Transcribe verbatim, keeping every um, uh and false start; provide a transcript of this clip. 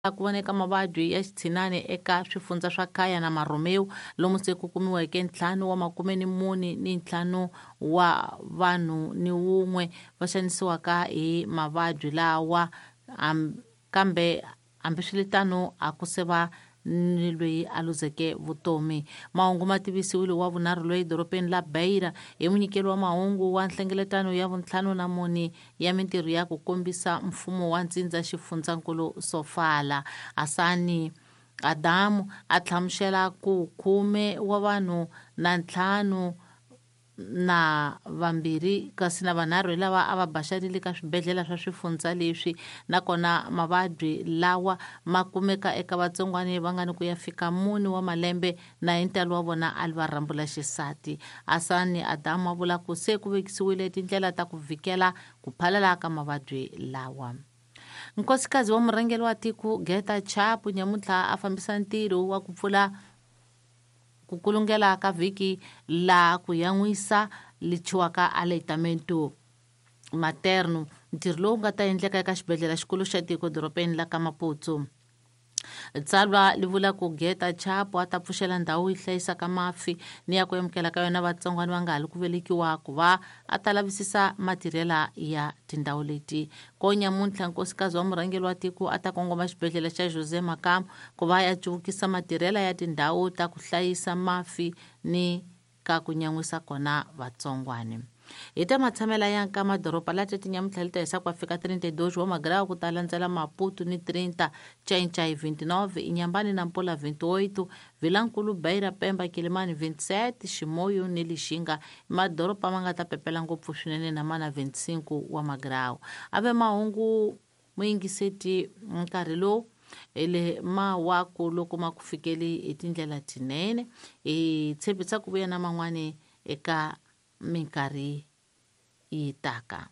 Ku voneka mavabyi ya xithinani eka swifundza swa Khaya na Maromeu, lomu se ku kumiweke ntlhanu wa makume ni mune ni ntlhanu wa vanhu ni wun'we va xanisiwaka hi mavabyi lawa, kambe hambiswiritano a ku se va ni loyi a luzeke vutomi. Mahungu ma tivisiwile wa vunharhu loyi dorobeni la Beira hi munyikeli wa mahungu wa nhlengeletano ya vuntlhanu na mune ya mintirho ya ku kombisa mfumo wa ntsindza xifundzankulu Sofala. Asani Adamu a hlamusela ku khume wa vanhu na ntlhanu na vambirhi kasi na vanharhu hi lava a va baxarile ka swibedhlele swa swifundza leswi, nakona mavabyi lawa ma kumeka eka vatsongwani va nga ni ku ya fika mune wa malembe na hi ntalo wa vona a li va rhambula xisati. Asani Adamu a vula ku se ku vekisiwile tindlela ta ku vhikela ku phalala ka mavabyi lawa. Nkosikazi wa murhangeri wa tiko Geta Chapu nyamuntlha a fambisa ntirho wa ku pfula ku kulungela ka vhiki la ku yan'wisa lichiwaka aleitamento materno, ntirho lowu nga ta endleka eka xibedhlele xikulu xa tiko dorobeni la ka Maputo. Tsalwa li vula ku Geta Chapu a ta pfuxela ndhawu yi hlayisaka mafi ni ya ku amukela ka yona vatsongwana va nga ha li ku velekiwa ku va a ta lavisisa matirhela ya tindhawu leti. Ko nyamuntlha nkosikazi wa murhangeri wa tiko a ta kongoma xibedhlele xa Jose Makamo ku va ya cuvukisa matirhela ya tindhawu ta ku hlayisa mafi ni ka ku nyan'wisa kona vatsongwani. Hi ta matshamela ya nka madoroba la tete nyamuntlha li ta hisa ku fika trinta e dois wa magrau ku ta landzela Maputo ni trinta, Ncaincaí vinte e nove, Inhambane na Nampula vinte e oito, Vilankulu, Beira, Pemba, Quelimane vinte e sete, Chimoio ni Lixinga, madoroba ma nga ta pepela ngopfu swinene na mana vinte e cinco wa magrau. Ave mahungu muyingiseti nkarhi lowu ele mawaku loko ma ku fikeli hi tindlela tinene, hi tshembisa ku vuya na man'wani eka minkarhi yi taka.